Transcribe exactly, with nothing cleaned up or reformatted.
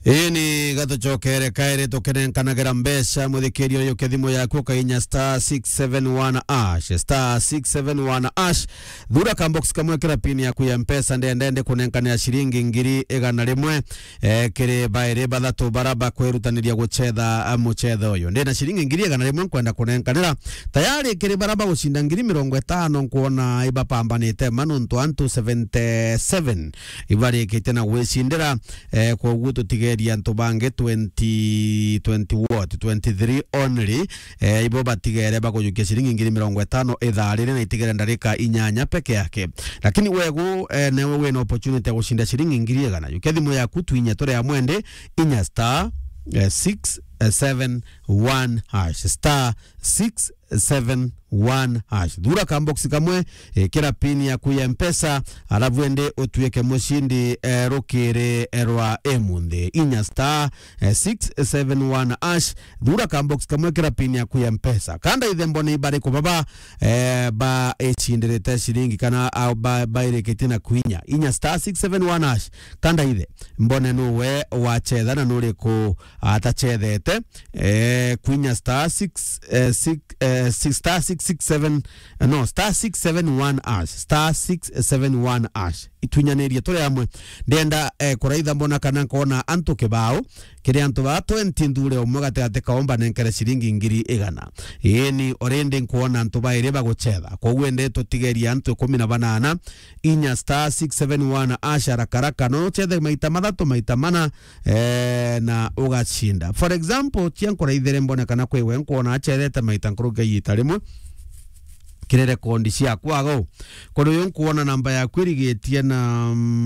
Ii ni gatucokere kairi tukinenkanagira mbeca, muthikiria uyu kithimo yaku ukainya star six seven one hash, star six seven one hash. Thura ka box kamwe kira pin yaku ya Mpesa, ndenda ndi kunenkanira ciringi ngiri igana rimwe, eh, kiri bairi bathatu bara bakwirutaniria gucetha, ah, mucetho uyu. Ndina ciringi ngiri igana rimwe nkwenda kunenkanira. Tayari kiri bara bagucinda ngiri mirongo itano nkwona ibapambanite ma nontu antu seventy seven ibarikitie na gwicindira, eh, koguo tutigeria antu bangi twenty, twenty what, twenty-three only, eh, ibo batigere bakujukia ciringi ngiri mirongo itano ithaa riri na itigere ndarika inyanya peke yake. Lakini wegu, eh, newe wina opportunity ya gucinda ciringi ngiri igana. Jukia thimu yaku twinye turi amwe ndi, inya star, eh, six seven one hash, star six seven one hash. Thura ka box kamwe, ikira pin yaku ya Mpesa, alafu ende utuike mucindi, eh, rukiri, eh, rwa emunthi. Inya star, eh, six seven one hash. Thura ka box kamwe, ikira pin yaku ya Mpesa. Kanda ithe mbone ibariku baba, eh, ba icindirite ciringi kana, ah, ba, bairikitie na kwinya. Inya star six seven one hash. Kanda ithe mbone nuwe wacetha na nuriku atacethete, eh, kwinya star six, eh, six, eh, six, star six six seven, eh, no, star six seven one hash, star six seven one hash. Itwinyanirie turi amwe. Ndenda, eh, kuraitha mbona kana nkona antu kibao, kiri antu ba twenty nthure umwe gatigati kaomba nenkere ciringi ngiri igana. Ii ni already nkwona antu bairi bagucetha. Koguo ende tutigeria antu ikumi na banana, inya star six seven one hash haraka haraka. No uchethe maita mathatu, maita mana, eh, na ugacinda. For example, tia nkuraithere mbone kana kwi we nkwona acethete maita nkuruki ya iita rimwe kiri rekondi ciakwa ago. Kuri uyu nkwona namba yaku irigitie na, mm,